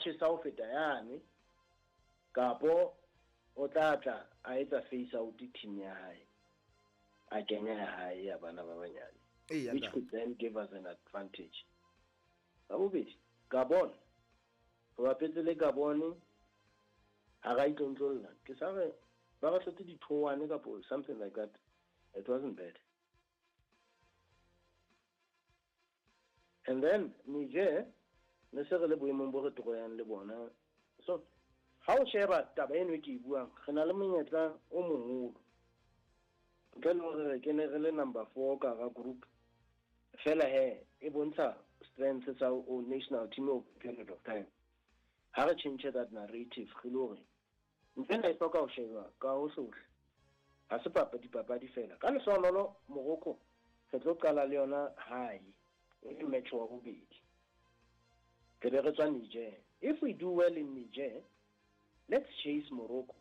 Tjhesa ho feta yane kapo o tla tla a etsa face out team ya hae, a kenya ya hae ya bana ba banyane, which could then give us an advantage. Ka bobedi, Gabon, re bapetse le Gabon, ha ra itlontlolla. Ke sa re ba re hlotse di-2-1 kapo something like that. It wasn't bad. And then Niger, ne se re le boemong bo re toroyang le bona. So ha o sheba taba eno e ke e buang, re na le monyetla o moholo. Ntle le hore re kene re le number 4 ka hara group, fela he e bontsha strength sa o national team over a period of time. Ha re change that narrative, re le hore ntho ena e hloka ho sheba ka hohlohle. Ha se dipapadi fela. Ka lehlohonolo Morocco re tlo qala le yona hae, e le match wa bobedi. Re be re tswa Niger. If we do well in Niger, let's chase Morocco.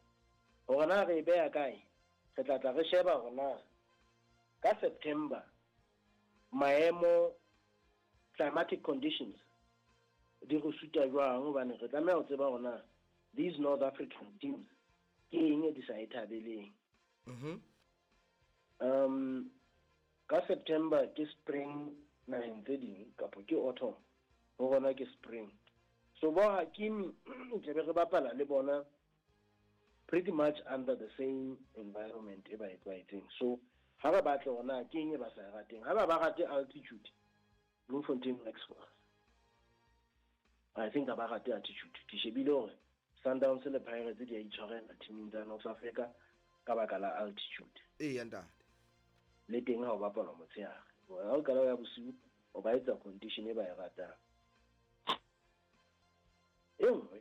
Hore na re e beha kae, re tla tla re sheba hore na ka September maemo, climatic conditions di re suta jwang, hobane re tlameha ho tseba hore na these North African teams ke eng e di sa e thabeleng. Ka September ke spring naheng tse ding, kapo ke autumn, ho rona ke spring. So bo Hakimi tle be re bapala le bona pretty much under the same environment e ba e tlwaetseng. So ha re batle hore na ke eng e ba sa e rateng. Ha ba ba rate altitude, Bloemfontein works for us. I think ha ba rate altitude. Ke shebile hore Sundowns le Pirates di a itshwarela teaming tsa North Africa ka baka la altitude. Eya ntate. Le teng ha o bapalwa motshehare. Ha o qala ho ya bosiu, o ba etsa condition e ba e ratang. E nngwe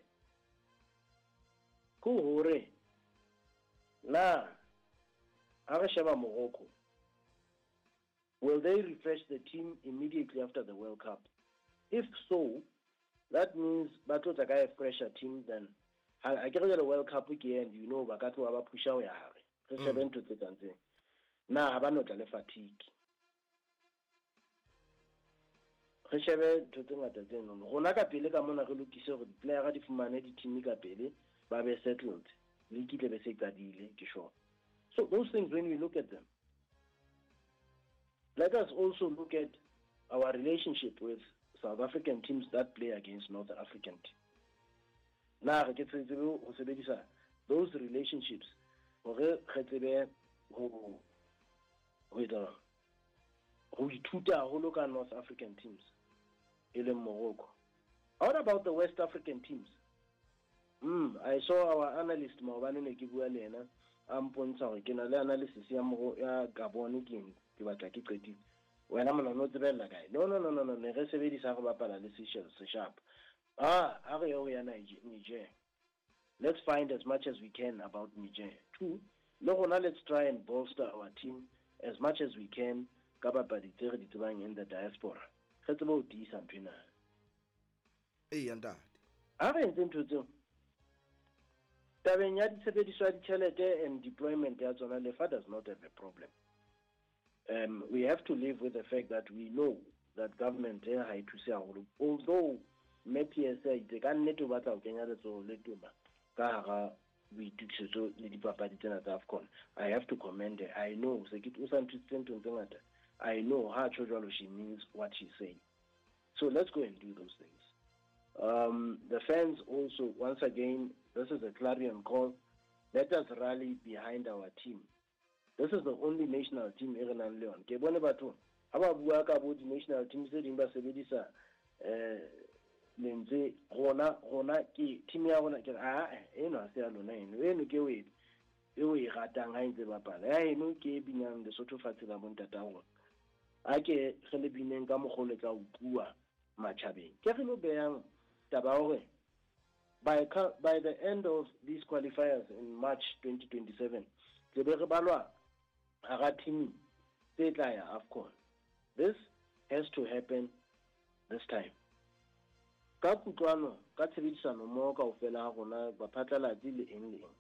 ke hore na ha re sheba Morocco, will they refresh the team immediately after the World Cup? If so, that means ba tlo tla ka a fresher team than ha ke re jwale World Cup ke end, you know, ba ka tloha ba pusha ho ya hare. Re shebe ntho tse kang tseo. Na ha ba no tla le fatigue. Re shebe ntho tse ngata tse nono. Rona ka pele ka mona re lokise hore di-player di fumane di-team ka pele, ba be settled. League tle be se qadile, ke sure. So those things, when we look at them, let us also look at our relationship with South African teams that play against North African teams. Na re ke tsebe ho sebedisa those relationships hore re tsebe ho etsa ho ithuta haholo ka North African teams e leng Morocco. What about the West African teams? I saw our analyst maobane ne ke bua le yena, a mpontsha hore ke na le analysis ya ya Gabon ke eng, ke batla ke qetile. Wena mona no tsebella kae? No, no, no, no, no, ne re sebedisa re bapala le Seychelles se sharp. Ha re ye ho ya Niger. Let's find as much as we can about Niger. 2, le rona let's try and bolster our team as much as we can ka bapadi tse re di tsebang in the diaspora. Re tsebe ho tiisa ntho ena. Eya ntate. Ha re entse ntho tseo, tabeng ya ditshebediso ya ditjhelete and deployment ya tsona, Lefa does not have a problem. We have to live with the fact that we know that government ha e thuse haholo. Although Mme PS a itse ka nnete o batla ho kenya letsoho le toma ka hara boitokisetso le dipapadi tsena tsa AFCON. I have to commend her. I know se ke o sa nthusitse nthong tse ngata. I know ha tjho jwalo she means what she's saying. So let's go and do those things. The fans also, once again, this is a clarion call. Let us rally behind our team. This is the only national team e re nang le yona. Ke bone batho ha ba bua ka bo di-national teams tse ding ba sebedisa lentswe rona, rona ke team ya rona, ke re, ah, eno ha se ya lona eno. Eno ke e o e ratang ha e ntse bapala. Ya eno ke e binang Lesotho fatshe la bontata rona. A ke re le bineng ka mokgwa o le tla utluwa matjhabeng. Ke re lo behang taba ya hore by the end of these qualifiers in March 2027, tle be re balwa hara team tse tla ya AFCON. This has to happen this time. Ka kutlwano, ka tshebedisano mmoho kaofela ha rona, baphatlalatsi le eng le eng.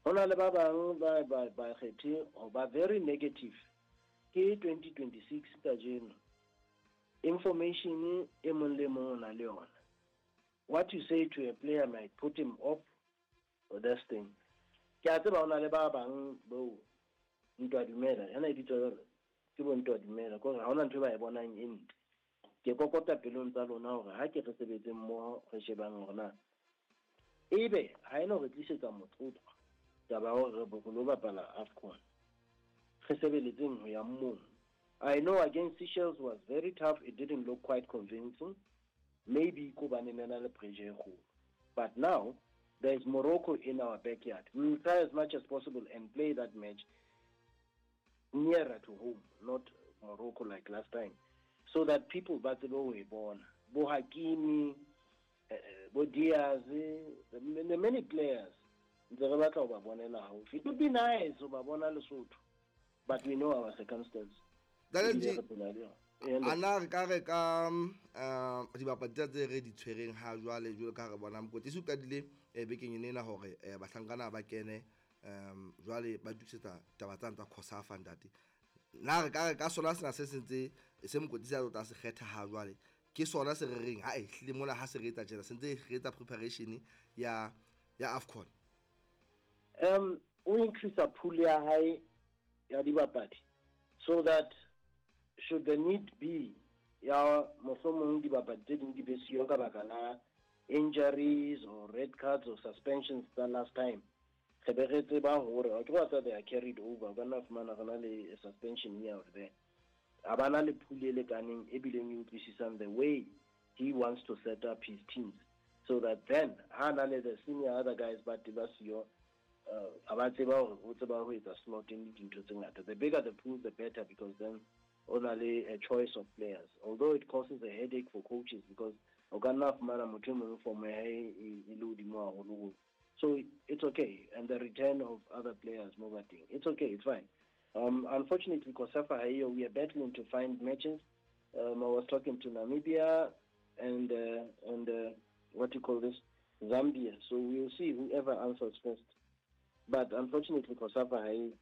Ho na le ba bang ba kgethe ho ba very negative. Ke 2026 kajeno. Information e mong le mong o na le yona. What you say to a player might put him off or this thing. Ke a tseba ho na le ba bang bo ntwa dumela, ena e bitswa jwalo, ke bo ntwa dumela, kore ha hona ntho e ba e bonang e ntle. Ke kokota pelong tsa lona hore ha ke re sebetseng mmoho re shebang hore na ebe ha ena re tlisetsa motlotlo taba ya hore re lo bapala AFCON. Re sebeletseng ho ya mong. I know against Seychelles was very tough. It didn't look quite convincing. Maybe kobane ne na le pressure e kgolo. But now there is Morocco in our backyard. We will try as much as possible and play that match nearer to home, not Morocco like last time, so that people ba tsebe ho e bona. Bo Hakimi, bo Diaz, the many players ntse re batla ho ba bonela haufi. It would be nice ho ba bona Lesotho, but we know our circumstances. Ntate Ebile re phela le yona. Ee, ntate. Ana re ka re ka dibapadi tsa tse re di tshwereng ha jwale, jwalo ka ha re bona mokwetlisi o qadile bekeng ena ena hore bahlankana ba kene jwale ba tokisetsa taba tsane tsa COSAFA ntate. Na re ka re ka sona sena se sentse se mokwetlisi a tlo se kgetha ha jwale, ke sona se re reng ha e hlile mona ha se re etsa tjena, se ntse re etsa preparation ya AFCON. O increase pool ya hae ya dibapadi so that should the need be ya mohlomong dibapadi tse ding di be siyo ka baka la injuries or red cards or suspensions tsa last time, re be re tseba hore ke wa tsa they are carried over. O ka nna fumana re na le suspension here or there. A ba na le pool e lekaneng e bileng e utlwisisang the way he wants to set up his teams, so that then ha na le the senior other guys ba te ba siyo, a ba tseba hore o tseba ho etsa slotting le dintho tse ngata. The bigger the pool, the better, because then o na le a choice of players, although it causes a headache for coaches because o ka nna fumana motho e mong form ya hae e le hodimo haholo. So it's okay, and the return of other players mo ba teng, it's okay, it's fine. Unfortunately, COSAFA ha eyo, we are battling to find matches. I was talking to Namibia and what do you call this, Zambia. So we will see whoever answers first. But unfortunately, COSAFA ha eyo.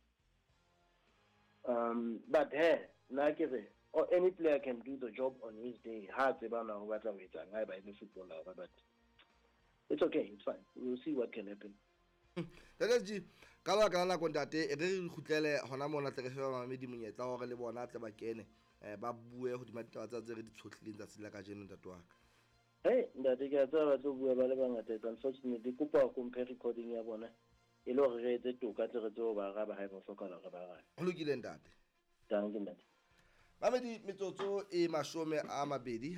But hey, nna ke re, or any player can do the job on his day. Ha tseba na ho batla ho etsang, ha eba e le footballer, but it's okay, it's fine. We will see what can happen. Ntate G, ka lebaka la nako ntate, e re re kgutlele hona mona tle re fe bamamedi monyetla hore le bona tle ba kene, ba bue hodima ditaba tsa tse re di tshohlileng tsatsing la kajeno ntate wa ka. Hey, ntate, ke a tseba ba tlo bua ba le bangata. It's unfortunately, ke kopa ho mphe recording ya bona e le hore re etse toka tle re tsebe ho ba araba ha eba ho hlokahala hore ba arabe. Ho lokile ntate. Danke ntate. Mamedi, metsotso e 27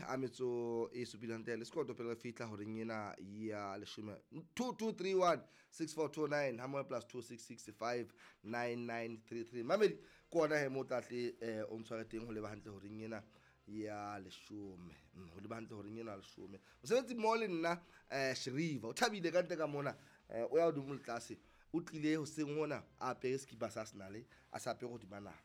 hantle le sekoto pele re fihla horeng ena ya leshome. 2231 6429 ha plus 2665 9933. Mamedi, ke ona he mo tla tle o ntshware teng ho leba hantle horeng ena ya leshome. Ho leba hantle horeng ena ya leshome. Mosebetsi mmoho le nna Sheriva o thabile ka ntle ka mona, o ya hodimo le tlase, o tlile hoseng hona a apere sekipa sa Arsenal, a sa apere hodima nama.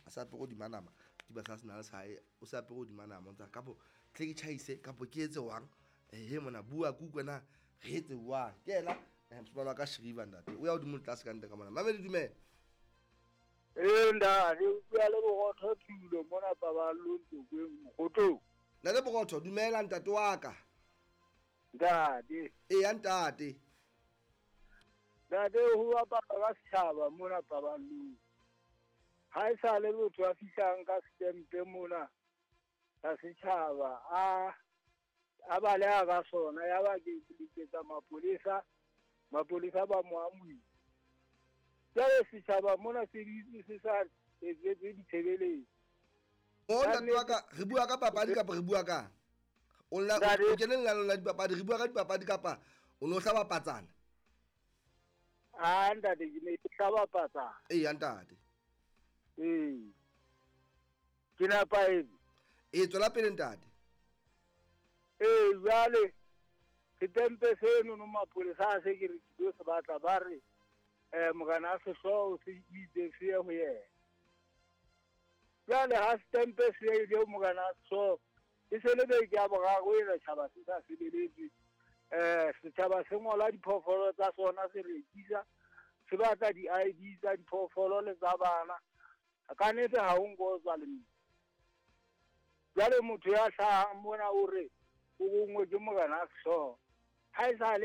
A sa apere hodima nama. Sekipa sa Arsenal sa hae, o sa apere hodima nama, o ntsa kapo tle ke tjhaise kapo ke etse wang. He mona bua ke utlwe na re etse wang. Ke yena mosimane wa ka Sheriva ntate, o ya hodimo le tlase ka ntle ka mona. Mamedi, dumela. Ee ntate, o bua le Borotho Thulo mona Paballo Ntokweng Mokgotong. Ntate Borotho, dumela ntate wa ka. Ntate. Eya ntate. Ntate, ho bapala ka setjhaba mona Paballo. Ha e sa le motho a fihlang ka setempe mona sa setjhaba, a baleha ka sona, ya ba ke letsetsa mapolesa, mapolesa ba mo amohile. Jwale setjhaba mona se dutse se sa etsetse ditshebeletso. O ntate wa ka, re bua ka papadi kapa re bua ka? O nna o kene lenaneong la dipapadi, re bua ka dipapadi kapa o no hlaba patsana? Ah, ntate, ke ne ke hlaba patsana. Eya ntate. Ee. Ke nepahetse. Ee, tswela pele ntate. Ee, jwale setempe seno no mapolesa a se ke re ke tlo se batla, ba re morena a sehlooho se itse se ye ho yena. Jwale ha setempe se ile ho morena a sehlooho, e se le beke ya boraro ena tjhaba se sa sebeletswe. Setjhaba se ngola diphoofolo tsa sona se rekisa, se batla di-I_D tsa diphoofolo le tsa bana. Ka nnete ha ho nko tswa le mme. Jwale motho ya hlahang mona o re o rongwe ke morena a sehlooho. Ha e sale.